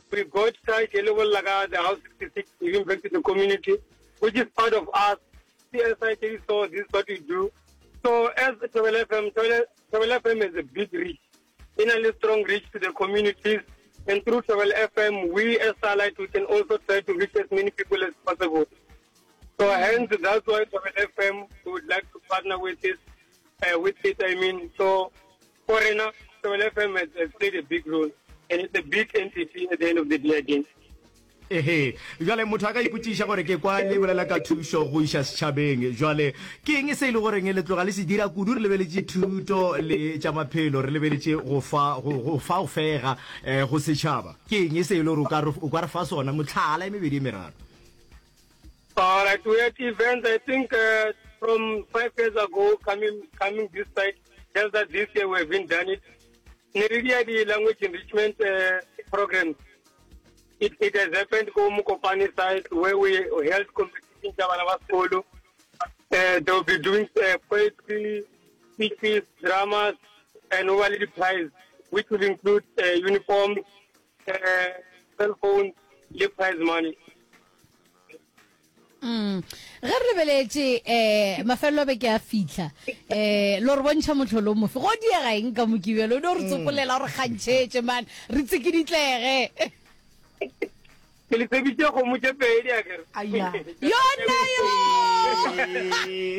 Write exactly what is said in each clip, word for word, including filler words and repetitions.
We got side like the House sixty-six, giving back to the community, which is part of us. C S I so this is what we do. So as Thobela F M, Thobela F M has a big reach, in a strong reach to the communities. And through Thobela F M, we as Starlight, we can also try to reach as many people as possible. So hence, that's why Thobela F M would like to partner with it, uh, with it, I mean. So, for now, Thobela F M has, has played a big role. And it's a big entity at the end of the day again. Ehe, jwale motho a ka ipotšiša gore ke kwa le bolela ka thušo go iša setšhabeng, jwale ke eng se e le goreng le tloga le se dira kudu? Re lebeletše thuto le tša maphelo, re lebeletše go fa go go fa go fega eh, go setšhaba. Ke eng se e le gore o ka re o ka re fa sona motlhala e mebedi e meraro? All right, we had events, I think, uh, from five years ago, coming coming this side, just that this year we haven't done it. Neridia, the language enrichment uh, programs. It, it has happened go Mokopane side where we held competition tsa bana ba sekolo. Uh, they will be doing uh, poetry, speeches, dramas, and overly the prize, which will include uh, uniforms, uh, cell phones, le prize money. Mm. Ge re lebeletše um mafelelo a beke a fitlha, um lo re bontšha motlholo o mofe go diega eng ka Mokibelo? O no re tsopolela gore kgantšhetše man re tsikiditlege. Ke le tsebitše kgomo tše pedi akere. Aya. Yona yo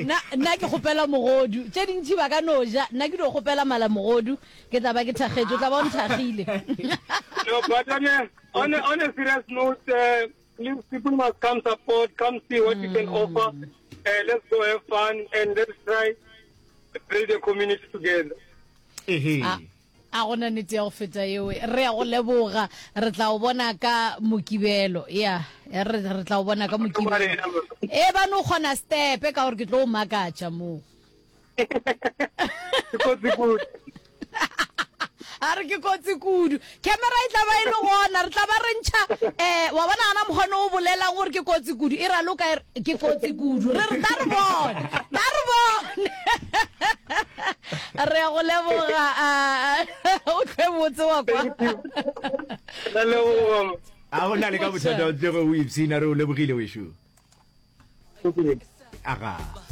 nna nna ke kgopela mogodu, tše dintši ba ka no ja, nna ke dio kgopela mala mogodu, ke tla ba ke thakgetše, o tla ba o nthagile. No, but on a, on a, on a serious note, uh, please, people must come support, come see what you can offer. Uh, let's go have fun and let's try to build a community together. Ehe. a a gona nnete ya go feta eo. Re ya go leboga, re tla o bona ka Mokibelo. Ya re re tla o bona ka Mokibelo e ba no kgona stepe ka gore ke tlo o makatša moo. Ke kotsi kudu. A re ke kotsi kudu, camera e tla ba e le gona, re tla ba re ntšha um wa bona gana mokgone o bolelang gore ke kotsi kudu e raloka e re, ke kotsi kudu, re re tla re bone, tla re bone. Re ya go leboga, ah, o tlhe botse wa kwa. Ra leboga. A go na le ka bothata, o tloge o ipshina, re o lebogile wešo. Aga.